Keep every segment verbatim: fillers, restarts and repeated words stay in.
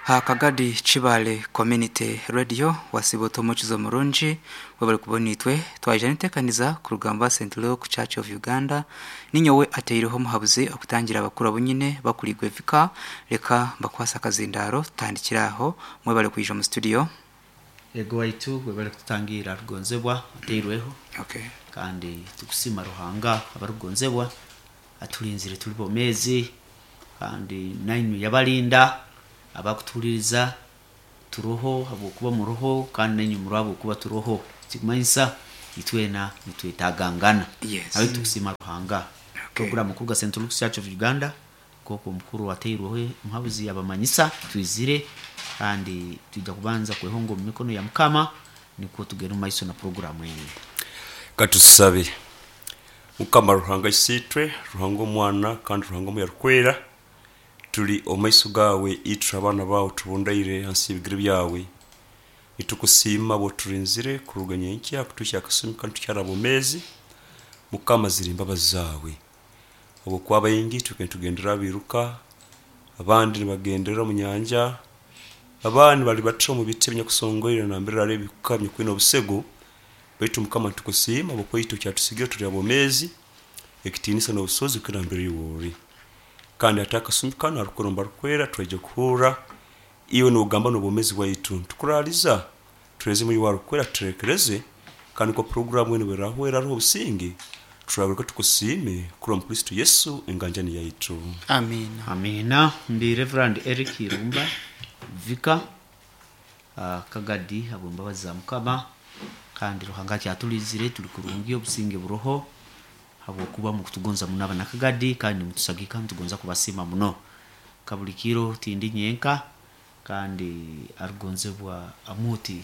Ha Kagadi Kibale Community Radio wasiba omukizo murungi webale kubona itwe twaija nitekaniza kurugamba Saint Luke Church of Uganda. Ninyowe ateireho omuhabuzi okutangira abakuru abunyine bakuligwe vika reka mbakwasa akazindaro tutandikiraho. Mwebale kwija mu studio. Ego waitu webale kututangira rugonzebwa ateirweho. Okay. Kandi tukusima Ruhanga abarugonzebwa atulinzire tuli bomezi, kandi nainywe yabalinda abakutuliriza turoho habwokuba muroho, kandi nainywe muroho habwokuba turoho. Kikumanyisa itwena nitwetagangana. Yes. Abe tukusima Ruhanga. Okay. Program kuruga Saint Luke's Church of Uganda koko mukuru wateirweho muhabuzi yabamanyisa twizire, kandi twija kubanza kwehonga omu mikono ya Mukama nikwo tugenda omu maiso na programu enu. Katusabe. Mukama Ruhanga isitwe, Ruhanga omwana kandi Ruhanga omuyarukwera, tuli omaiso gawe itwe abaana bawe tubundaire hansi y'ebigere byawe. Nitukusiima bwoturinzire kuruga nyenkya kutuhikya akasumi kanu tukyari abomezi. Mukama ziri imbabazi zawe, habwokuba abaingi twike nitugendera abiruka, abandi nibagendera omu nyanja, abandi bali bata omu biti ebinyakusongoire nambere hariho ebikuka ebinyakwine obusego. Baitu Mukama nitukusiima habwokuba itwe okyatusigire tuli abomezi, ekitiinisa n'obusobozi bukira mbere iwe ori. Kandi hati akasumi kanu harukwera omu barukwera twaija kuhurra iwe nogamba n'obwomezi bwaitu. Ntukuraaliza tureze muri warukwera tuterekereze, kandi nko programu enu bwerahwera hariho obusinge, turagaruka tukusiime kurwa mu Kristo Yesu enganjani yaitu. Amina. Amina. Ndi Reverend Eric Irumba Vika uh, Kagadi habw'embabazi za Mukama, kandi Ruhanga akyatulizire tuli kurungi obusinge buroho habwokuba mukutugonza muno abana Kagadi, kandi mutusagika nitugonza kubasiima muno. Kabuli kiro tindi nyenka, kandi arugonzebwa amuti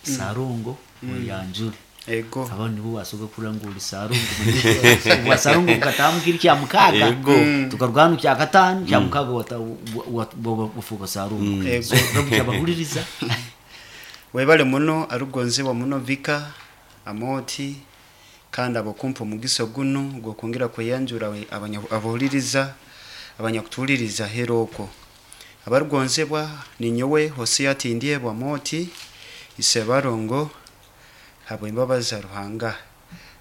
Sarongo mm. Oyanjure. Ego. Abandi nibo basobola kuranga uri Sarongo. Wa Sarongo mukatamu kiri kya mukaga. Ego. Tukaruga hano kya katano kya mukaga wata wafuka Sarongo. Ego. So rabu kyabahuliriza. Webale muno arugonzebwa muno Vika Amoti, kandi abokumpa omugiso guno gwokwongera kweyanjura abanya- abahuliriza abanyakutuhuliriza hera okwo. Abarugonzebwa ninyowe Hosea Tindyebwa Moti Isebarongo habw'embabazi za Ruhanga,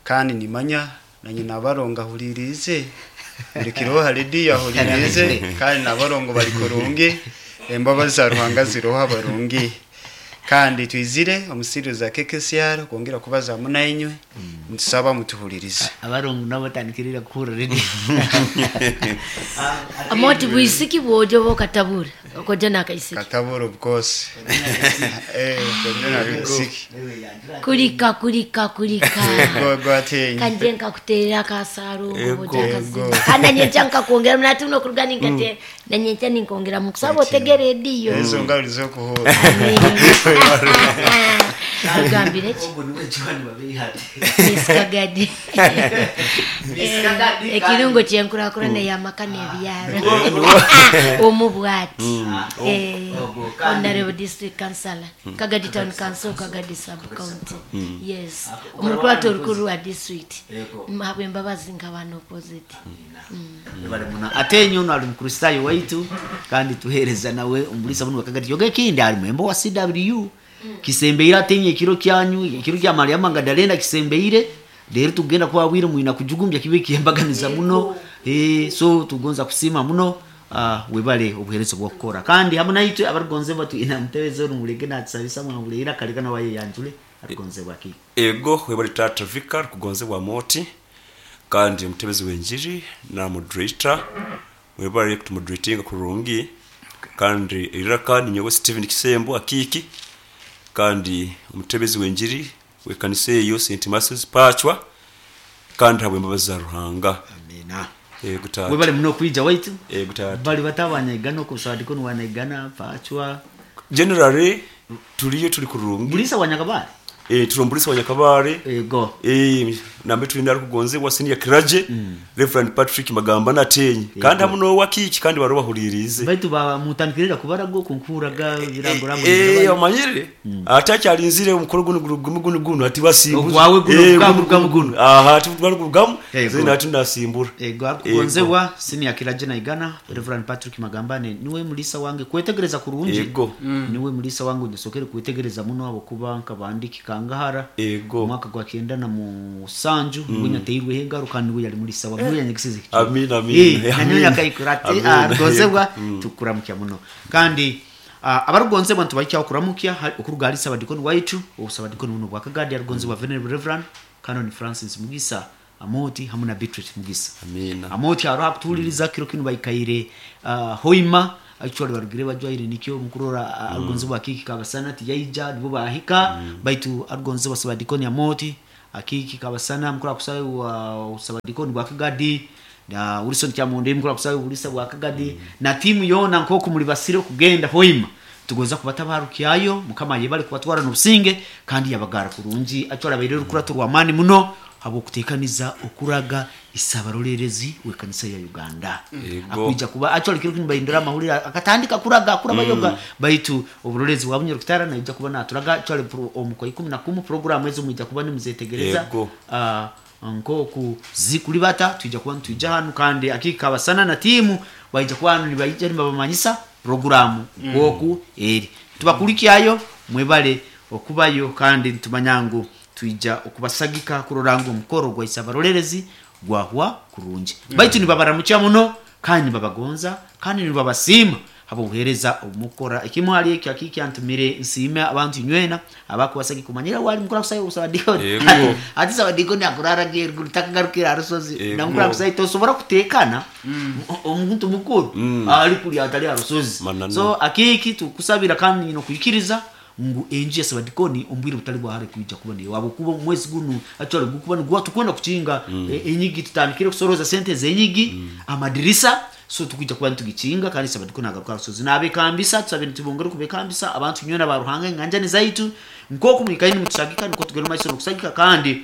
kandi nimanya nanye nabarongo ahulirize buli kiroho ha rediyo ahulirize, kandi nabarongo bali kurungi, embabazi za Ruhanga ziroho abarungi. Kandi twizire omusiri za K K C R kwongera kubaza munainywe, ntusaba mutuhulirize. Abarongo nabo batandikirira kuhurira rediyo. Amoti bwisiki bwojo bokatabura okoja nakaisiki. Katabura of course. Eh, koja nakaisiki. Kulika kulika kulika. Go go atenyi. Kanje nkakuterera akasaro Ego. boja Ego. akazina. Kandi nyencha nkakwongera mnati uno kuruga ninkate na nyencha ninkongera mukusaba otegere rediyo. Ezo ngalo zokuhura. Agambire ki? Ogo niwe John babihate. Miss Kagadi. Miss Kagadi. Ekirungo kyenkurakurana y'amaka n'ebyaro. Omu bwati. Eh, Ogo, kandi- Honorable District Councillor, Kagadi Town Council, Kagadi Sub County. Yes. Omukuru orukuru wa district. Ego. Habwe embabazi nk'abantu opposite. Webale muno. Ate nyono ali mukristayo waitu, kandi tuhereza nawe omulisa muno Kagadi. Yoga ekindi ali mwembo wa C W. Kisembeire atenye ekiro kyanyu, ekiro kya Mariam Magdalena kisembeire. Rero tugenda kwabwira mwina kujugumbya kibe kiyembaganiza muno. Eh, so tugonza kusima muno. Ah, webale obuherezo bwokukora. Kandi hamwe naitwe abarugonze batu ina mutebeze rumulege natsabisa mwana mulehera kaleka nawaye yanjule arugonze bwaki. Ego webale tata Vika kugonzebwa Moti, kandi omutebezi w'enjiri na moderator webale kutumoderatinga kurungi. Kandi eriraka ninyowe Steven Kisembo Akiki, kandi omutebezi w'enjiri w'ekanisa eyo Saint Matthew's Pachwa, kandi habwe embabazi za Ruhanga. Amina. Ego tata. Webale muno kwija waitu. Ego tata. Bali batabanaigana okusadiko niwanaigana Pachwa. Generally tuliyo tuli kurungi. Bulisa wanyakabale. Eh, turombulisa wanyakabare Ego. Eh, nambe tulina arikugonzebwa senior clergy Reverend Patrick Magamba natenye kandi hamu n'owakiki kandi baro bahuririze Baitu bamutandikirira kubarago kunkuraga birango Eh, omanyire ate akyalinzire omukolo guno guno guno guno guno ati basimbura Ogwawe guno, Eh, gugamu, gugamu, guno. aha ati gugamu Ego. zina ati nasimbura Ego akugonzebwa senior clergy naigana Reverend Patrick Magambane niwe mulisa wange kwetegereza kurungi Ego. niwe mulisa wange ndisokere kwetegereza muno abo kuba nkabandiki kangahara Ego. omwaka gwa kenda na musanju niwe nyateirweho engaro kandi niwe yali mulisa wange niwe yanyegesize ekicweka. Amina, amina. Eh, Amina. nanyowe yakaikura ati Amina. arugonzebwa tukuramukya muno kandi ah, abarugonzebwa ntubahikyaho kuramukya hari- okuruga hali sabadikoni waitu obusabadikoni buno bwakagadi arugonzebwa venerable reverend canon Francis Mugisa Amoti hamwe na Beatrice Mugisa Amina. Amoti aroha kutuhuliriza kiro kinu baikaire uh, hoima actually barugire bajwaire nikyo mukurora mm. arugonzebwa akiki kabasana tiyaija nibo bahika mm. baitu arugonzebwa sabadikoni Amoti akiki kabasana mukura kusawe wa sabadikoni bwakagadi na Wilson Kyamunde mukura kusawe bulisa bwakagadi mm. na timu yona nkoko muri basire kugenda hoima tugoza kubatabarukyayo mukama yebale kubatwara n'obusinge kandi yabagara kurungi actually abaire rukurato rw'amaani muno habwokuteekaniza okuraga isabarolerezi w'ekanisa ya Uganda Ego. akwija kuba actually kiro kinu bahindura amahurire akatandika kuraga kuraba yoga baitu oburorezi bwa bunyarukitara naija kuba naturaga actually pro- omu kwa ikumi na kumu program ezo mwija kuba nimuzetegereza Ego. uh, nkoku zikulibata twija kuba nitwija hanu kandi akika basana na timu baija kuba hanu nibaija nibabamanyisa programu nkoku eri tubakulikyayo mwebale okubayo kandi nitumanya ngu twija okubasagika kurora ngu omukoro gwa isabarolerezi gwahwa kurungi baitu nibabaramukya muno kandi nibabagonza kandi nibabasiima habwobuheereza obumukora ekimu hali ekyo akikyantumire nsiime abantu inywena abakubasagika omanyire wali mukura kusayo obusabadikoni Ego. ati sabadikoni akurara geruguru takagarukira arusozi Ego. namukura kusayo tosobora kutekana omuntu mukuru ali kuli atali arusozi Mananu. so akiki tukusabira kandi nyina okuikiriza ngu enju ya sabadikoni ombwire butali bwahare kwija kuba niyo wabo kuba omwezi guno actually gukuba niguwa tukwenda kukinga mm. enyigi tutandikire kusoroza sente zenyigi mm. amadirisa so tukwija kuba nitugikinga kandi sabadikoni agaruka rusozi nabekambisa tusabe nitubongere kubekambisa abantu nywena ba Ruhanga enganjani zaitu nkoku mwikaini mutusagika niko tugenda maiso nokusagika kandi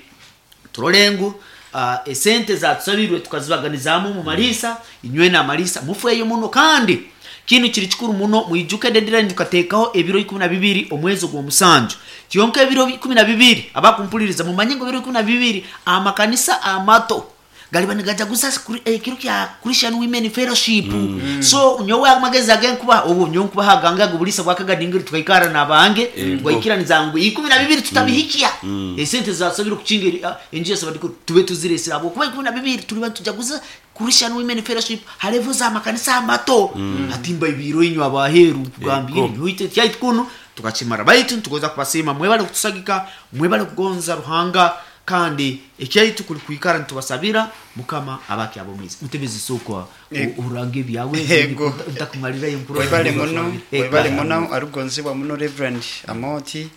turole ngu uh, esente zatusabirwe tukazibaganizamu mu malisa inywe na malisa mufeyo muno kandi kinu kiri kikuru muno mwijuke deadline tukateekaho ebiro ikumi na bibiri omwezi ogw'omusanju kyonka ebiro ikumi na bibiri abakumpuliriza mumanye ngu ebiro ikumi na bibiri amakanisa amato galiba nigajaguza kuri- ekiro kya Christian Women Fellowship mm. so nyowe amagezi agenkuba obu nyowe nkubaha aganga gubulisa bwakagadingiri tukaikara nabange twaikiraniza ngu ikumi na bibiri tutabihikia esente zasabira kukinga enju yasabadiko tube tuziresera abo kuba ikumi na bibiri tuliba tujaguza Christian Women Fellowship halevo za makanisa amato atimba ibiro inyu abaheru kugambira Ego. nyoite kyaitu kuno tukakimara baitu tugoza kubasiima mwebale kutusagika mwebale kugonza Ruhanga kandi ekyaitu kuli kwikara nitubasabira mukama abaki abomwizi mutebezi sokwa Ego. urange ebyawe Ego. ntakumalirayo nkuru webale muno webale muno arugonzibwa muno Reverend Amoti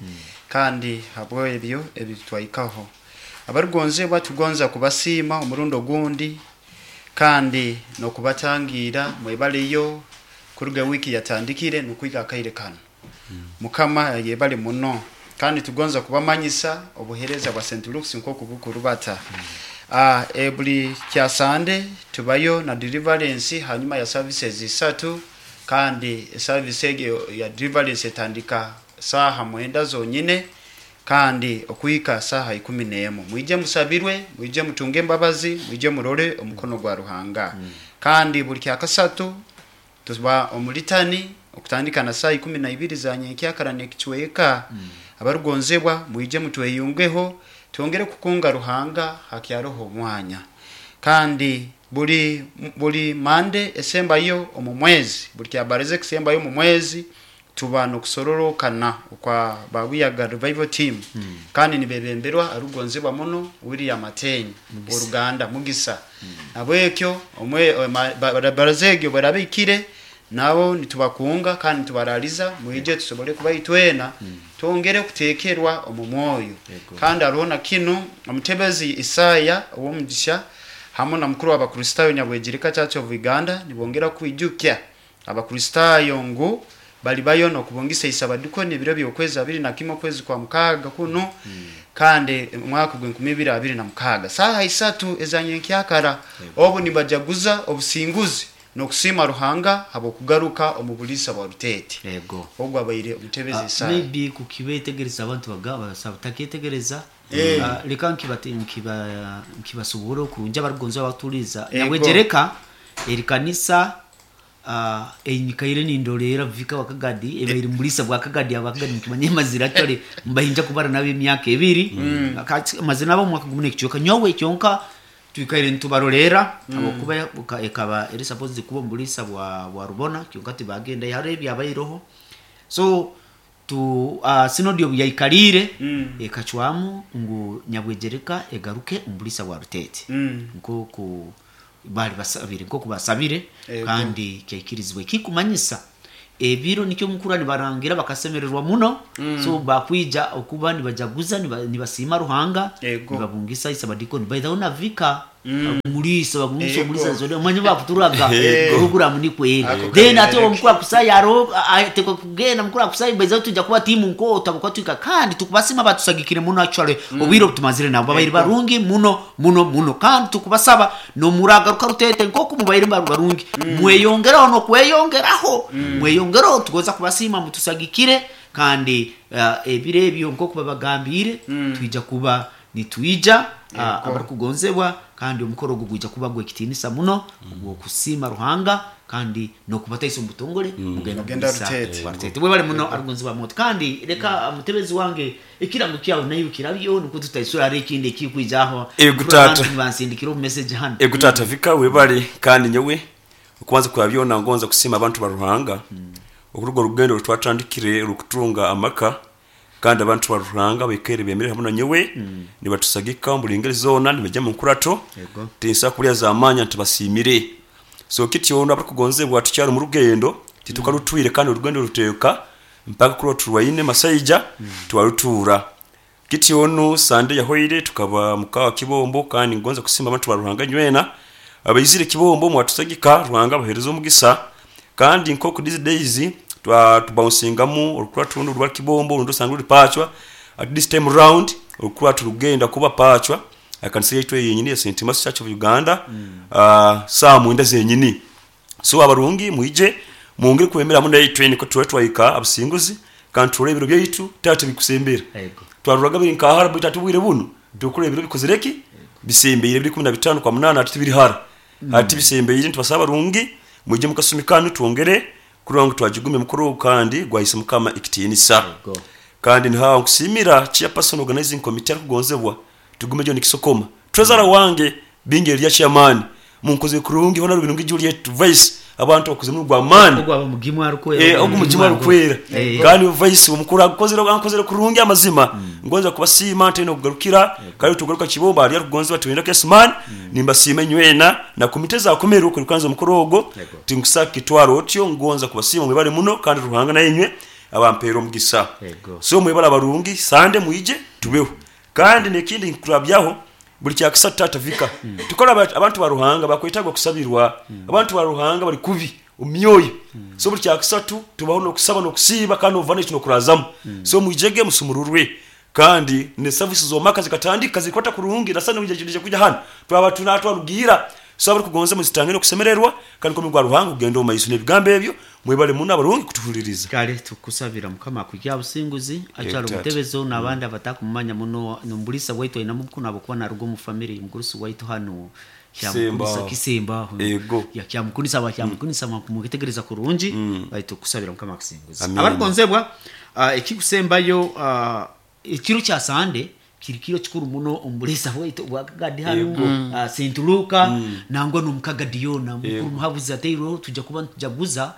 kandi habwo ebyo ebitwaikaho abarugonzibwa tugonza kubasiima omurundo ogundi kandi nokubatangira mwebaleyo kuruga wiki yatandikire nokwiga akaire kano mukama yebale muno kandi tugonza kubamanyisa obuhereza bwa St Luke's nkoku bukurubata ah e buli kya Sunday tubayo na deliverance hanyuma ya services isatu kandi service egyo ya deliverance etandika saha mwenda zonyine kandi okuhika saha ikumi n'emu mwije musabirwe mwije mutunge embabazi mwije murole omukono gwa Ruhanga kandi buli kya kasatu tuba omulitani okutandika na saa ikumi na ibiri za nyenkyakara nekicweka mm. abarugonzebwa mwije mutweyungeho twongere kukunga Ruhanga hakyaroho omwanya kandi buli buli mande esembayo omu mwezi buli kyabareze kusembayo omu mwezi tuba nokusororokana okwa babuyaga revival team mm. kandi nibebemberwa arugonzebwa muno William Ateni oruganda Mugisa mm. nabwekyo omwe barazegyo barabikire nabo nitubakunga kandi nitubaraliza mwije tusobole kuba itwena twongere kutekerwa omu mwoyo kandi hariho na kino omutebezi Isaya ow'omugisha hamwe na mukuru w'abakristayo Nyabwegirika Church of Uganda nibongera kwijukya abakristayo ngu Bali bayo nokubungisa isabadikoni ebiro by'okwezi abiri na kimwe okwezi kwa mukaaga kuno, kandi omwaka gw'enkumi ibiri abiri na mukaaga saaha isatu ezanyenkyakara, obu nibajaguza obusinguzi n'okusiima Ruhanga habw'okugaruka omu buliisa bwa Ruteete. Yego. Ogwo abaire omutebezi Ah, Isaya. Maybe kukibetegereza abantu baga basaba taketegereza. Eh. Ah, leka nkibate nkiba nkibasobora okurungi abarugonza abaturiza. Ego. Nyabwegereka eri kanisa ah, enyikaire nindolera vika wakagadi ebaire mulisa bwa kagadi abakagadi mukimanye mazira actually mbahinja kubara nabo emyaka ebiri. Kati mazina nabo omwaka gumu n'ekicweka nyowe kyonka twikaire nitubarolera abakuba buka- ekaba eri supposed kuba omulisa bwa bwa Rubona, kyonka tibagenda hariho ebyabaireho. So tu uh, sinodi obu yaikalire Mm. ekacwamu ngu Nyabwegereka egaruke omulisa bwa Ruteete Mm. nkoku bali basabire, nkoku basabire. Ego. Kandi kyaikirizibwe kikumanyisa ebiro nikyo mukura nibarangira bakasemererwa muno. So bakwija okuba nibajaguza, niba- nibasiima Ruhanga, Ego. nibabungisa isabadikoni baithaho na vika mulisa babungisa Ego. omulisa zone manye bakuturaga Ego. programu ni kweri. Ako Then ate kabereke. omukura kusaya aro atekwa kugenda mukura kusaya baiza tujja kuba timu nkota buka twika kandi tukubasima batusagikire muno actually obwire obutumazire nabo babaire barungi muno muno muno, kandi tukubasaba nomuragaruka Rutete nkoku mubaire baru- barungi mweyongeraho nokweyongeraho mweyongeraho, tugoza kubasima mutusagikire. Kandi uh, ebiro ebyo nkoku babagambire twija kuba nitwija uh, abarikugonzebwa, kandi omukoro ogwo gwija kuba gwekitinisa muno ogw'okusiima Ruhanga kandi nokubataisa omu butongole mugenda Mugenda mugisa Rutete. wa Rutete. Bwebale muno arugonzebwa moto, kandi leka mutebezi wange ekirango kyawe nayo kirabyo nuko tutaisura hari ekindi ekikwijaho. Ego, tata. Bansindikira omu message hano. Ego tata vika, webale. Kandi nyowe okubanza kwa byona ngonza kusima abantu ba Ruhanga okuruga orugendo rutwatandikire rukutunga amaka, kandi abantu ba Ruhanga baikere bemere hamwe na nyowe nibatusagika mu ngeri zona nibajya mu nkurato. Ego. Tinsa kulya zamanya ntibasimire. So kityo ono abakugonzebwa tukyali mu rugendo titukarutwire, kandi orugendo ruteka mpaka kuri turwaine masaija twarutura. Kityo ono sande yahoire tukaba mukawa Kibombo, kandi ngonza kusima abantu ba Ruhanga nywena abaizire Kibombo mwatusagika, Ruhanga bahereza omugisa. Kandi nkoku these days twa tubouncingamu orukura tundu rwa Kibombo rundo sanga ruri pachwa, at this time round orukura turugenda kuba pachwa akanisa yaitu yenyini ya Saint Thomas Church of Uganda mm. uh, saa mwenda zenyini. So abarungi mwije mungire kwemera munda yaitu niko tuwe twaika abasinguzi kandi turebe ibiro byaitu tata bikusembera. Ego. Twaruraga biri nkahara bitatu bwire buno tukure ibiro bikozereki bisembeire biri kumi na bitano kwa munana ati biri hara ati bisembeire. Ntibasaba barungi mujye mukasumikano twongere kugira ngo twagigume mukuru kandi gwahise mukama ikitinisa. Ego. Kandi nhawe nkusimira chairperson organizing committee arikugonzebwa tugume jo nikisokoma treasurer wange binge lya chairman munkoze kurungi hona rubirungi Juliet vice abantu bakoze mu rwa mani. Ogwo aba mugimu arukwera. Eh, ogwo mugimu arukwera. Eh. Kandi vice omukuru akozere ankozere kurungi amazima ngonza kubasiima nteno kugarukira kandi tugaruka Kibomba ali kugonza batwenda Kesman nimbasiima nywena na komite za komero kurukanza omukuru ogwo tinkusaka kitwaro otyo ngonza kubasiima mwebale muno kandi Ruhanga nayenywe abampera omugisa. Yego. So mwebale abarungi sande mwije tubeho. Kandi nekindi nkurabyaho buli kyakisa tata vika tukora aba- abantu ba Ruhanga bakwetagwa kusabirwa abantu ba Ruhanga bali kubi omyoyo. So buli kyakisatu tubaho nokusaba nokusiiba kandi ovana ekino kurazamu. So mwijege musumururwe kandi ne services zomaka zikatandika zikwata kurungi nasana mwijejije kuja hano twaba tunatwarugira. So abari kugonza muzitange nokusemererwa kandi ko mugwa Ruhanga kugenda omu maiso n'ebigambo ebyo. Mwebale muno abarungi kutuhuliriza. Kale tukusabira mukama akujja businguzi akyali Tata. omutebezo n'abandi abatakumumanya muno nomulisa waitu aina mukunu abokuba naruga omu family mugurusi waitu hano Kisemba. Kisemba. Ego. Kyamukunisa bakyamukunisa mukitegereza kurungi baitu kusabira mukama akusinguzi. Amen. Abarigonzebwa ah, ekikusembayo ah, ekiro kya sande kiri kiro kikuru muno omulisa waitu bwakagadi hano ah, Saint Luka nangwa n'omukagadi yona mukuru muhabuzi ateirweho tujja kuba nitujaguza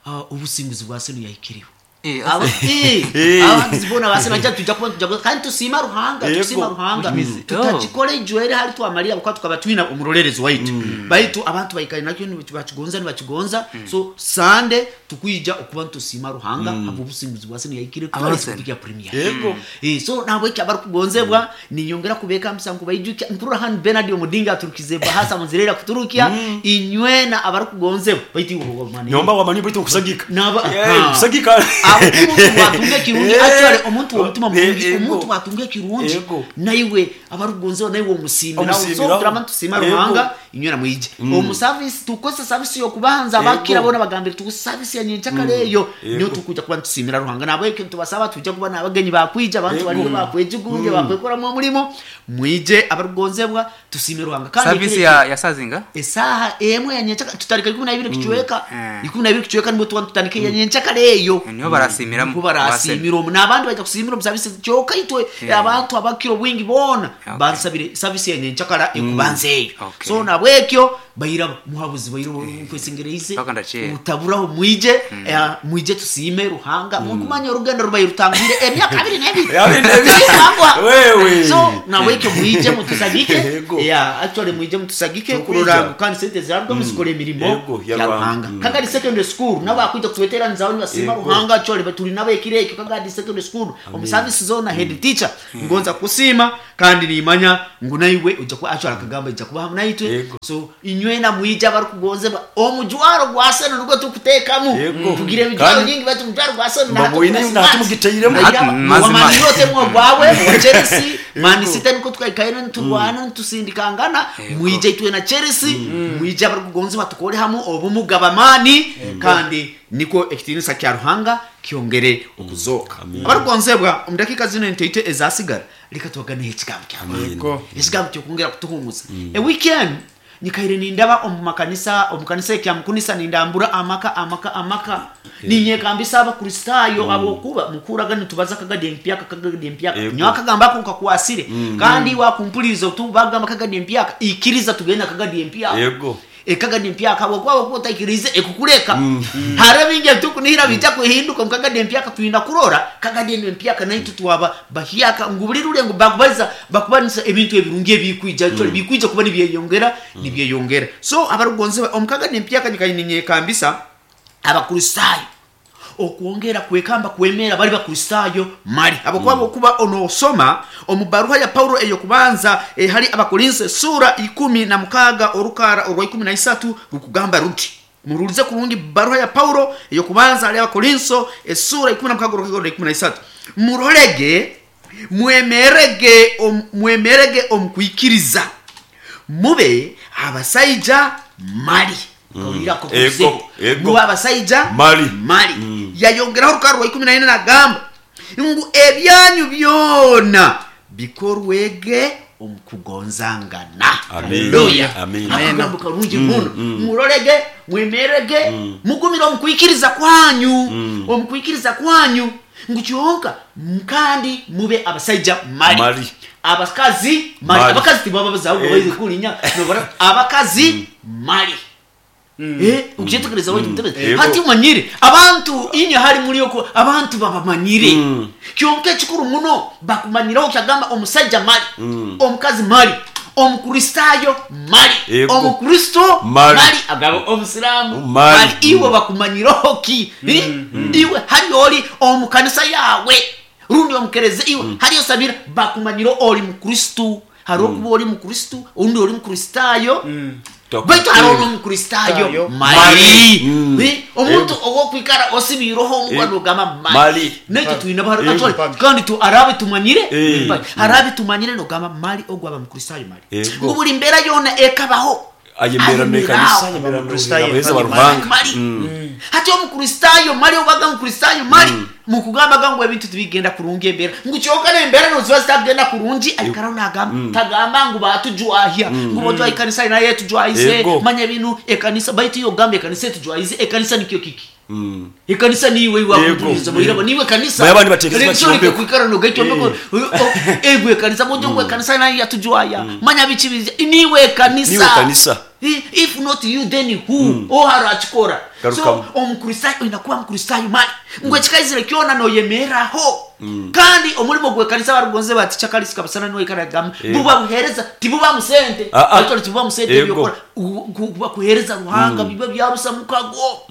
ah, obusinguzi bwa senu yahikiriwe. Eh, Aba- eh, Eh. abahagizi boona ba Arsenal tujja kuba tujja kuba- kandi tusiima Ruhanga, Yego. tusiima Ruhanga. Which means- Tutakikora ijwere hali twamalira kuba tukaba twina omurorerezi waitu. Baitu abantu baikaire nakyo nibakigonza nibakigonza. So Sunday tukwija okuba nitusiima Ruhanga habw'obusinguzi bwa Arsenal yaikire Aba kutwara Arsenal. ekikopo kya Premier. Yego. Eh, so nabweki abarikugonzebwa ninyongera kubeka msa nkubaijukya nkurura hanu Bernard Omudinga aturukize bahasa munzirera kuturukia inywena abarikugonzebwa baitu iwe mani Nyomba wamanyi baitu okusagika. Naba- Eh, Ha. kusagika. Abo omuntu watunga ekirungi Eh. actually omuntu w'omutima mulungi Eh, omuntu ego. watunga ekirungi Ego. naiwe abarikugonzebwa naiwe omusiimiraho so Omusiimiraho. turaba nitusiima Ego. Ruhanga inywena mwije omu service tukozesa service y'okubanza abakira Ego. boona bagambire tukozesa service ya nyenkyakare eyo Ego. niyo tukuja kuba nitusiimira Ruhanga nabwekyo nitubasaba tujja kuba n'abagenyi bakwija abantu Ego. bariyo bakwejugunje bakwekoramu omurimo mwije abarikugonzebwa tusiime Ruhanga kandi service ekiro ya ya sazinga esaha emwe ya nyenkyakare tutandika ikumi na ibiri kucweka Mm. ikumi na ibiri kucweka nibwo tuba tutandika iya nyenkyakare eyo niho barasiimiramu niho barasiimira omu n'abandi bajya kusiimira omu service kyokka itwe Yeah. abantu abakira obwingi boona Okay. bansabire service ya nyenkyakara ekubanza eyo Okay. so nabwekyo baira muhabuzi baira nkwesengereize Paka ndakyera. utaburaho mwije eh, mwije tusiime Ruhanga mukumanya orugendo rubaire rutangire emyaka abiri n'ebiri Abiri n'ebiri. Tibirangwa. Wewe. so nabwekyo mwije mutusagike Yego. yeah actually mwije mutusagike Tukwija. kurora ngu kandi sente zarwo muzikora emirimo Yego, ya ya Ruhanga. Ruhanga Mm. Kagadi secondary school nabo bakwija kutweteranizaaho nibasiima Yego. Ruhanga actually batuli nabo ekiro ekyo Kagadi secondary school omu service zona head teacher ngonza kusiima kandi nimanya ngu naiwe ojja kuba actually akagamba ijja kuba hamu naitwe Yego. so inywena mwija abarikugonzebwa omujwaro gwa Arsenal nugwo tukuteekamu Yego. tugira emijwaro Kandi- nyingi baitu omujwaro gwa Arsenal Mbabwine natumugiteiremu. Mazima. wamanyirote mwo gwawe wa Chelsea Man City niko tukaikaire niturwana nitusindikangana Yego. mwije itwe na Chelsea mwije abarikugonzebwa tukore hamu obumuga bamaani kandi niko ekitiinisa kya Ruhanga kyongere okuzoka abarikugonzebwa omu dakiika zino nteite ezasigara reka tubaganeho ekigambo kya Ruhanga Yego. ekigambo kyokwongera kutuhumuza eweekend nyikaire nindaba omu makanisa omu kanisa ekyamukunisa nindambura amaka amaka amaka ninyekambisa abakristaayo abokuba mukuraga nitubaza kagadi empyaka kagadi empyaka Yego. nyowe akagamba ako nkakwasire kandi wakumpuliriza otubagamba kagadi empyaka ikiriza tugenda kagadi empyaka Yego. ekagadi empyaka bwokuba bwokuba otaikirize ekukureka hariho bingi ebitukunihira bijja kuhinduka omu kagadi empyaka twina kurora kagadi eno empyaka naitu twaba bahyaka ngu buli rule ngu bakubaliza bakubanisa ebintu ebirungi ebikwija mm. bikwija kuba nibyeyongera nibyeyongera so abarugonze omu kagadi empyaka nyikaininyeekambisa abakristaayo okwongera kwekamba kwemera bali bakristaayo mali abakuba mm. okuba onosoma omu baruha ya Paulo eyokubanza eh, hali abakorinso sura ikumi na mukaaga orukara orwa ikumi na isatu rukugamba ruti murulize kurungi baruha ya Paulo eyokubanza hali abakorinso esura ikumi na mukaaga orukara orwa ikumi na isatu murorege mwemerege om, mwemerege omukwikiriza mube abasaija mali Kawulirako Ego, kuzibu. ego. Mube abasaija Mali. mali yayongeraho orukara rwa ikumi na ine nagamba ngu ebyanyu byona bikorwege omukugonzangana Amen. Haleluya. Amen. Akagambo karungi muno murorege mwemerege mugumire omukwikiriza kwanyu omukwikiriza kwanyu ngu kyonka kandi mube abasaija mali, Mali. abakazi mali Mali. abakazi tibaba bazaho Eh. baize kulinya nobara abakazi mali Eh, ukyetegereza waitu mutebezi Yego. hati umanyire abantu inye hari muri yoko abantu babamanyire kyonka ekikuru muno bakumanyiraho kyagamba omusajja mali omukazi mali omukristaayo mali Yego. omukristo Mali. mali agaba omusiraamu Mali. mali iwe bakumanyiraho ki Eh? iwe hari oli omukanisa yawe rundi omukereze iwe hari osabira bakumanyira oli mukristu hari okuba oli mukristu undi oli mukristaayo baitu hariho n'omukristaayo Tayo. mali Mali. Mm. Eh, omuntu owokwikara osibiireho omugwa Eh. nogamba mali Mali. naitwe twine Eh. bahari kandi tu arabe tumanyire Eh. Mali. Arabe tumanyire nogamba mali ogwaba mukristaayo mali Yego. ngu buli mbeera yona ekabaho Ayemera n'ekanisa, ayemera Abakristaayo n'abaheereza ba mali. Ruhanga. mali hati omukristaayo mali obaga mukristaayo mali mukugambaga ngu ebintu tibigenda kurungi embeera ngu kyonka nembeera noziba zitagenda kurungi aikaraho nagamba tagamba ngu batujwahya ngu botwaha ekanisa naye etujwahize Yego. manya binu ekanisa baitu iyo ogamba ekanisa etujwahize ekanisa nikyo kiki ekanisa niiwe Yego. iwakutuliza muirabo niiwe kanisa Baye abandi batekereza Rero bakyombeko. kwikara nogekyombeko egwe ekanisa bojo ngu ekanisa nayo yatujwaya manya biki bizi niiwe ekanisa Niwe kanisa. I- if not you then who oharakikora so Garukamu. omukristayo oyina kuba mukristayo mali ngu ekikaizire kyona noyemeraho kandi omulimo gwekanisa barugonze bati chakalisi kabasana noikaragamu buba buhereza tibuba musente Ah, ah. Actually, tibuba musente Ego. ebyokora U- ku- kuba kuhereza ruhanga biba byarusa mukago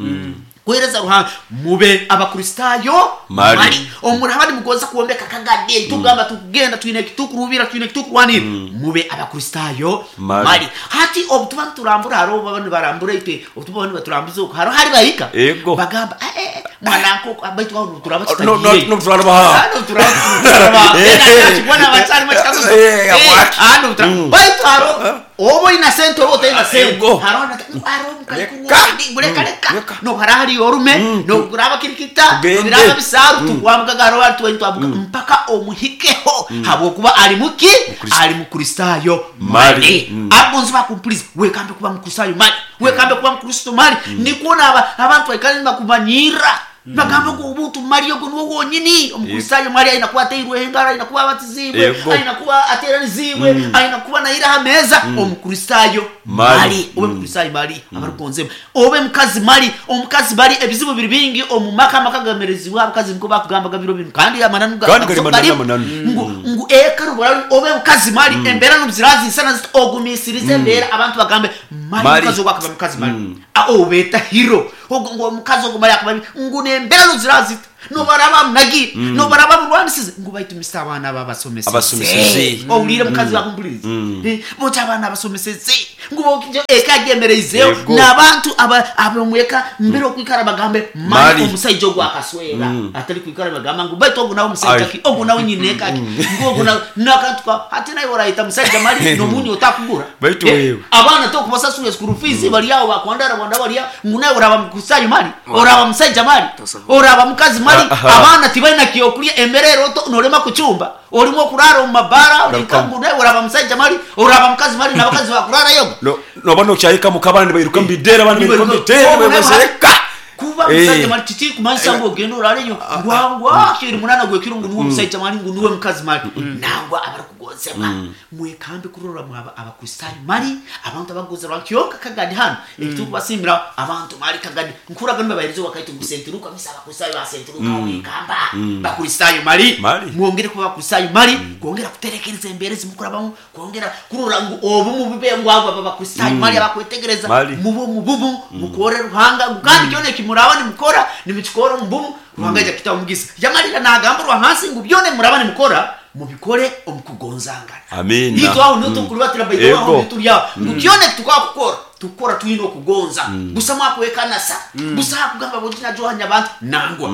kuhereza ruhanga mube abakristayo Mali. mali omuraba nimugonza kuombeka kagade tugamba tukugenda twine ekitukurubira twine ekitukurwanira mube abakristayo Mali. mali hati obutuba niturambura hariho baba nibarambura itwe obutuba nibaturambuza oku hariho hari bahika Ego. bagamba "Eh, eh, eh, mwana nkoko baitu aho turaba No, no, tutagiire no, turaraba ha. Hano turaba turaba Eh. Ena nakibona abakyarimu ekikaguzo Eh, Eh, waki. hano turaba baitu hariho oba oyina sente oba otayina sente Ego. hariho na- hariho Leka. mukaikuleka leka Leka. nohara hariyo orume noguraba kirikita Tugende. nobiraba bisaaru tukwambukaga hariho hari tuweni twambuka mpaka omuhikeho habwokuba ali muki Mukristo. ali mukristayo Mali. mali Mm. abonzi bakumpuriza wekambe kuba mukristayo mali wekambe kuba mukristo mali nikwo aba abantu baikale nibakumanyira bagamba ngu obuntu mali ogwo niwo wonyini omukristayo mali aina kuba ateirweho engaro aina kuba abatizibwe Yego. aina kuba ateranizibwe aina kuba naira aha meeza omukristayo Mali. mali obe mukristayo mali abarugonzemu obe mukazi mali omukazi mali ebizibu biri bingi omu maka amaka gamerezibwa abakazi niko bakugambaga biro binu kandi amananu ga- Kandi gari mananu, garimu. amananu. ngu ngu eka rubara obe mukazi mali embera nubuzirazinsana ziti ogumisirize embera abantu bagambe mali Mali. mukazi ogwo akaba mukazi mali Ah, obeta hiro ogwo ngu omukazi ogwo mali akaba ngu nembera nuzirazita nobaraba munagire nobaraba murwanisize ngu baitumisa abaana babasomeseze Abasomeseze. owulire mukazi bakumpuliriza Eh, boti abaana abasomeseze ngu bokije eka agemereizeyo Yego. n'abantu aba- abomweka mbere okwikara bagambe mali Mali. omusaija ogwo akaswera atari kwikara bagamba ngu baitu ogwo nawe musaija Ai. ki ogwo nawe nyine kaki ngu ogwo nawe nakantu ka hati nawe orayita musaija mali nomunyu otakugura Baitu Eh, wewe. abaana tokubasasura school fees bali awo bakwandara bwanda bali awo ngu nawe oraba mukusayo mali oraba musaija mali Tosobola. oraba mukazi mali Aha. abaana tibalina kyokulya embera eroto norema kuchumba olimu okurara omu mabara Garukamu. ngu nawe oraba musaija mali oraba mukazi mali n'abakazi bakurara yoga No- noba nokyayika mukabana nibairuka mubidera abana bairuka mubidera Obu nawe bebazeka kuba Eh. musaija mali kiki kumanyisa ngu ogenda orara enyo ngwangwa kiri munana gwekiro ngu niwe musaija mali ngu niwe mukazi mali nangwa abarikugonzebwa mwekambe kurora mwaba abakristayo mali abantu abagonzebwa kyonka kagadi hano ekitukubasimira abantu mali kagadi nkuraga nibabahereza wakaitu ngu sentiruka misa abakristayo ba sentiruka wekamba bakristayo mali Mali. mwongere kuba bakristayo mali kwongera kuterekereza embera ezimukurabamu kwongera kurora ngu obumu bube ngu abo aba bakristayo mali abakwetegereza Mali. mube omubumu mukore ruhanga ngu kandi kyona ekimuraba nimukora nimukikora omubumu ruhanga aija kutaha omugisa yamalira nagamba rwahansi ngu byona emuraba nimukora mubikore omukugonzangana Amina. itwe aho niho tukurubatira baito aho Ego. niho turi aho ngu kyona ekitukakukora tukukora twine okugonza busa mwakwekanasa busa hakugamba boginajohanya abantu nangwa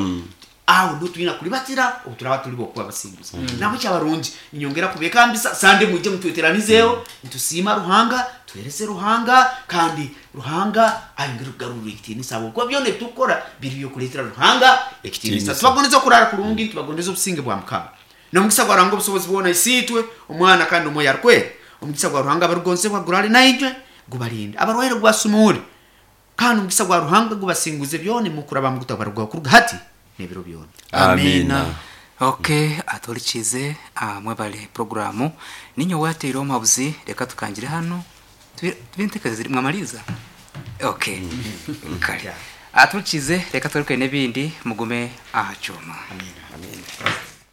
aho niho twine kuribatira obu turaba turi bokuba abasinguzi nabo kyabarungi ninyongera kubekambisa sande mwije mutweteranizeho nitusiima ruhanga tuhereze ruhanga kandi ruhanga ayongere kugarurira ekitiinisa habwokuba byona ebitukukora biri byokuleetera ruhanga ekitiinisa Ekitiinisa. tubagondeze okurara kurungi tubagondeze obusinge bwa mukama nomugisa gwa ruhanga obusobozi bwona isiitwe omwana kandi omwoyo arikwera omugisa gwa ruhanga abarugonzebwa gurale naijwe gubarinde abarwaire gubasumure kandi omugisa gwa ruhanga gubasinguze byona mukuraba mugutabarugwaho kuruga hati n'ebiro byona amina ok aturikize ah, mwebale programu ninyo wateire omuhabuzi reka tukangire hano tubintekereze mwamaliza ok kale aturikize reka twereke n'ebindi mugume aha cyuma Amina.